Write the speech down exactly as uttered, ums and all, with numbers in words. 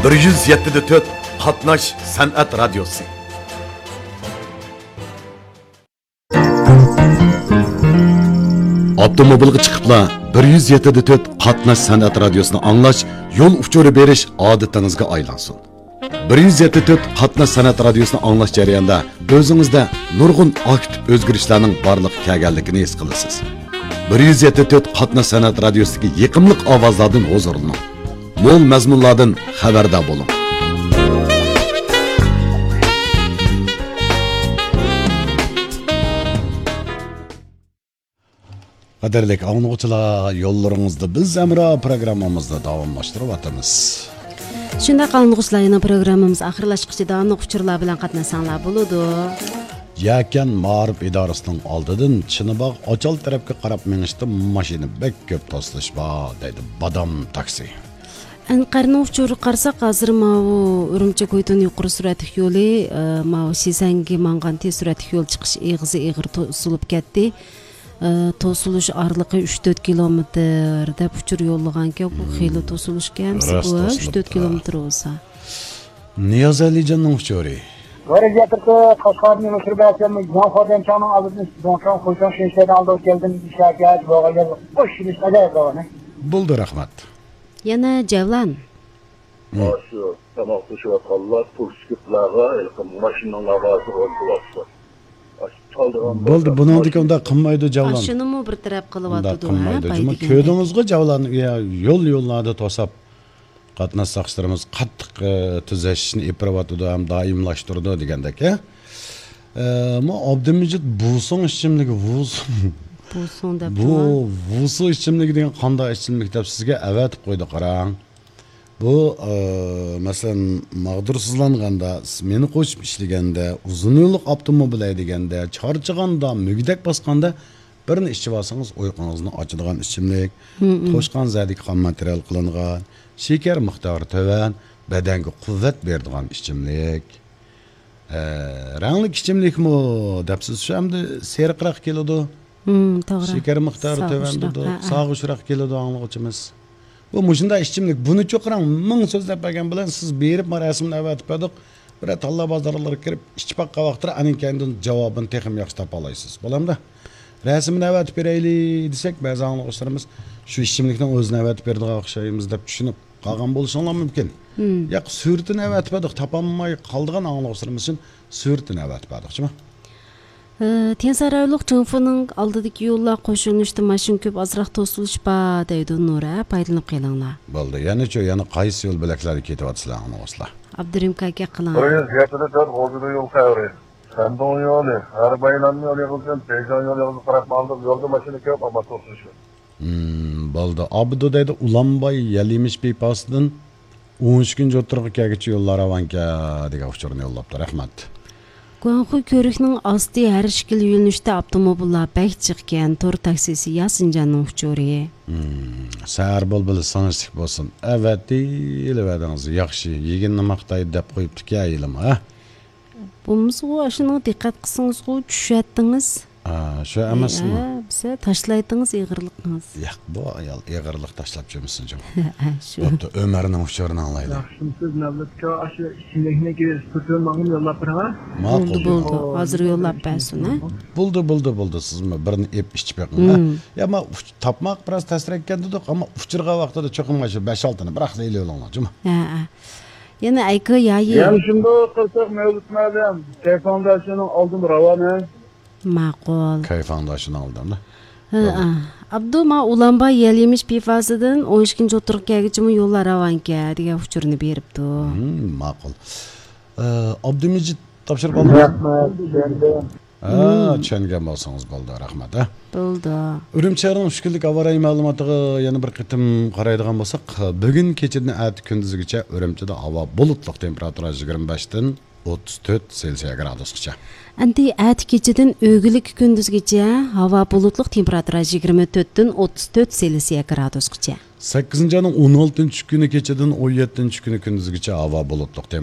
بىر يۈز يەتتە دە تۆت قاتناش سەنئەت رادىيوسى. ئاپتوموبىلغا چىقىپلا بىر يۈز يەتتە دە تۆت قاتناش سەنئەت رادىيوسىنى ئاڭلاش، يول ئۇچۇرى بېرىش ئادىتىڭىزگە ئايلانسۇن. بىر يۈز يەتتە تۆت قاتناش سەنئەت رادىيوسىنى ئاڭلاش جەريانىدا ئۆزىڭىزدە نۇرغۇن ئاكتىپ ئۆزگىرىشلەرنىڭ بارلىققا كەلگەنلىكىنى ھېس قىلىسىز. بىر يۈز يەتتە تۆت قاتناش سەنئەت رادىيوسىدىكى يېقىملىق ئاۋازلاردىن ھۇزۇرلىنىڭ. مول مەزمۇنلاردىن خەۋەردار بولۇڭ. قەدىرلىك ئاڭلىغۇچىلار، يوللىرىڭىزدا بىز ھەمراھ پروگراممىمىزنى داۋاملاشتۇرۇۋاتىمىز. شۇنداق ئاڭلىغۇچىلار، يەنە پروگراممىمىز ئاخىرلاشقۇچە داۋاملىق ئۇچۇرلار بىلەن قاتناشساڭلار بولىدۇ. يەكەن مائارىپ ئىدارىسىنىڭ ئالدىدىن چىنىباغ ئاچال تەرەپكە قاراپ مېڭىشتا ماشىنا بەك كۆپ توسۇلۇش بار، دەيدۇ بادام تاكسى. ئەنقەرنىڭ ئۇچۇرىغا قارىساق، ھازىر ماۋۇ ئۈرۈمچى كويتۇن يۇقىرى سۈرئەتلىك يولى، ئە، ماۋۇ شىزەنگە ماڭغان تېز سۈرئەتلىك يول چىقىش ئېغىزى ئېغىر توسۇلۇپ كەتتى. ئە، توسۇلۇش ئارىلىقى ئۈچ تۆت كىلومېتىر دەپ ئۇچۇر يوللىغانكەن، بۇ خېلى توسۇلۇشكەن، راست بۇ، ئە، ئۈچ تۆت توسۇلۇپتۇ. كىلومېتىر بولسا. نىياز ئەلىجاننىڭ ئۇچۇرى. ۋەزىيەتتە قەشقەردىن يەنە ئۇچۇر بەرسەم، ياڭ خادەنچاڭنىڭ ئالدىدىن زوڭچاڭ خۇيچاڭ شېنشەيدىن ئالدىغا كەلدىم، ئىشەكەت بولغان يەر بوش ئىش ئەدەپ بولغان. بولدى، رەھمەت. يەنە جەۋلان. مم. شۇ تاماق پىشىرىۋاتقانلار پۇرسىكىپلارغا ھېلىقى ماشىنىنىڭ لاۋازىغا ئولتۇرۇۋاتىدۇ. بولدى، بۇنىڭدىكى ئۇنداق قىلمايدۇ جەۋلان. ئاشۇنىمۇ بىر تەرەپ قىلىۋاتىدۇ، ھە، پاي دېگەندەك. كۆردىڭىزغۇ جەۋلان، يا، يول يوللاردا توساپ قاتناش ساقچىلىرىمىز قاتتىق، ئە، تۈزەشنى ئېلىپ بېرىۋاتىدۇ ھەم دائىملاشتۇرىدۇ دېگەندەك، ھە؟ ئە، مۇ ئابدۇمىجىت بۇسۇڭ ئىچىملىكى، ۋۇسۇڭ. بۇسۇڭ دەپ بۇ ۋۇسۇ ئىچىملىكى دېگەن قانداق ئىچىملىك دەپ سىزگە ئەۋەتىپ قويدى، قاراڭ. بۇ، ئە، مەسىلەن، ماغدۇرسىزلانغاندا، مېنى قوشۇپ ئىشلىگەندە، ئۇزۇن يوللۇق ئاپتوموبىل ھەيدىگەندە، چارچىغاندا، مۈگدەك باسقاندا، بىرنى ئىچىۋالسىڭىز، ئۇيقۇڭىزنى ئاچىدىغان ئىچىملىك. مم. توشقان زەدىكى خام ماتېرىيال قىلىنغان، شېكەر مىقدارى تۆۋەن، بەدەنگە قۇۋۋەت بېرىدىغان ئىچىملىك. ئە، رەڭلىك ئىچىملىكمۇ دەپسىز، شۇ ئەمدى سېرىقراق كېلىدۇ. مم، توغرا. شېكەر مىقدارى تۆۋەن دېدۇق، ھە، ھە. ساغۇشراق كېلىدۇ ئاڭلىغۇچىمىز. بۇ مۇشۇنداق ئىچىملىك، بۇنى چوقۇراڭ مىڭ سۆزلەپ بەرگەن بىلەن سىز بېرىپ، ما رەسىمنى ئەۋەتىپ بەردۇق، بىرەر تاللا بازارلىرىغا كىرىپ ئىچىپ باققان ۋاقىتتا ئانىڭ كەينىدىن جاۋابىنى تېخىمۇ ياخشى تاپالايسىز. بولامدۇ؟ رەسىمنى ئەۋەتىپ بېرەيلى دېسەك، بەزى ئاڭلىغۇچىلىرىمىز شۇ ئىچىملىكنىڭ ئۆزىنى ئەۋەتىپ بېرىدىغان ئوخشايمىز دەپ چۈشىنىپ قالغان بولۇشۇڭلار مۇمكىن. مم. ياق، سۈرىتىنى ئەۋەتىپ بەردۇق، تاپالماي قالىدىغان ئاڭلىغۇچىلىرىمىز ئۈچۈن سۈرىتىنى ئەۋەتىپ بەردۇقچۇ. ئى، تيەنسارايلىق جېڭفېنىڭ ئالدىدىكى يوللار قوشۇلۇشتا ماشىنا كۆپ، ئازراق توسۇلۇش بار دەيدۇ نۇر، ھە، پايدىلىنىپ قېلىڭلار. بولدى، يەنىچۇ، يەنە قايسى يول بۆلەكلەردە كېتىۋاتىسىلەر ئاڭلىغۇچىلار؟ ئابدۇرېھىم كاكا قىلىڭ. بىر يۈز يەتتە تۆت غۇلجىدا يول خەۋىرى. شەندۇڭ يولى، غەربىي ئايلانما يولى يىغىلسۇن، بېيجىڭ يولى يىغىلسۇن، قاراپ ماڭدۇق، يولدا ماشىنا كۆپ، ئەمما توسۇلۇش يوق. مم، بولدى. ئابدۇ دەيدۇ، ئۇلانباي يەل يېمىش پىپاسىدىن ئون ئۈچىنچى ئوتتۇرىغا كەلگۈچە يوللار راۋانكەن دېگەن ئۇچۇرنى يوللاپتۇ. رەھمەت. گۇاڭخۇي كۆۋرۈكنىڭ ئاستى ھەر ئىككىلا يۆنىلىشتە ئاپتوموبىللار بەك جىقكەن. تور تاكسىسى ياسىنجاننىڭ ئۇچۇرى. مم، سەھەر بۇلبۇلى سىڭىشلىك بولسۇن. ئەۋەتىۋېرىۋەردىڭىز. ياخشى، يېگىنىنى ماختايدۇ دەپ قويۇپتىكەن ھېلىمۇ، ھە؟ بولمىسىغۇ، ئاشۇنىڭغا دىققەت قىلسىڭىزغۇ، چۈشەتتىڭىز. ئا، شۇ ئەمەسمۇ؟ ھە، بىزە تاشلايتىڭىز ئېغىرلىقىڭىز. ياق، بۇ ئايال ئېغىرلىق تاشلاپ جۈرمىسۇن جۇمۇ. ھە، شۇ. بوپتۇ، ئۆمەرنىڭ ئۇچۇرىنى ئاڭلايلى. ياخشىمسىز، نەۋلەتكە ئاشۇ ئىچىملىكنى سۈرتۈپ ماڭا يوللاپ بېرىڭ. ماقۇل. بولدى، بولدى. ھازىر يوللاپ بەرسۇن، ھە؟ بولدى، بولدى، بولدى. سىزمۇ بىرنى ئېپ ئىچىپ بېقىڭ، ھە؟ مم. يا، ما ئۇچ-، تاپماق بىراز تەسرەككەن دېدۇق، ئەمما ئۇچ-، ئۇچۇرغان ۋاقتىدا چوقۇم مانا شۇ بەش-ئالتىنى بىراقلا ئېلىۋېلىڭلار جۇمۇ. ھە، ھە. يەنە ئەيكى يايى. يەنە شۇنداق قىلساق، مەۋلۇت مەلىم، كەيفاڭداشنىڭ ئالدىمۇ راۋان، ھە؟ ماقۇل. كەيفاڭداشنىڭ ئالدىمۇ. ھە، بولدى. ئا. ئابدۇ، ما ئۇلانباي يەل يېمىش پىپاسىدىن ئون ئىككىنچى ئوتتۇرىغا كەلگۈچىمۇ يوللار راۋانكەن دېگەن ئۇچۇرنى بېرىپتۇ. ھىم، ماقۇل. ئە، ئابدۇمىجىت تاپشۇرۇپ ئالدىڭىز؟ رەھمەت، چۈشەندىم. ھە، چۈشەنگەن بولسىڭىز بولدى، رەھمەت، ھە. بولدى. ئۈرۈمچى شەھىرىنىڭ ئۈچ كۈنلۈك ھاۋا رايى مەلۇماتىغا يەنە بىر قېتىم قارايدىغان بولساق، بۈگۈن كېچىدىن ئەتە كۈندۈزگىچە ئۈرۈمچىدە ھاۋا بۇلۇتلۇق، تېمپېراتۇرا يىگىرمە بەشتىن ئوتتۇز تۆت سېلسىيە گرادۇسقىچە. ئەمدى ئەتە كېچىدىن ئۆگۈنلۈككە كۈندۈزگىچە ھاۋا بۇلۇتلۇق، تېمپېراتۇرا يىگىرمە تۆتتىن ئوتتۇز تۆت سېلسىيە گرادۇسقىچە. سەككىزىنچى ئاينىڭ ئون ئالتىنچى كۈنى كېچىدىن ئون يەتتىنچى كۈنى كۈندۈزگىچە ھاۋا بۇلۇتلۇق،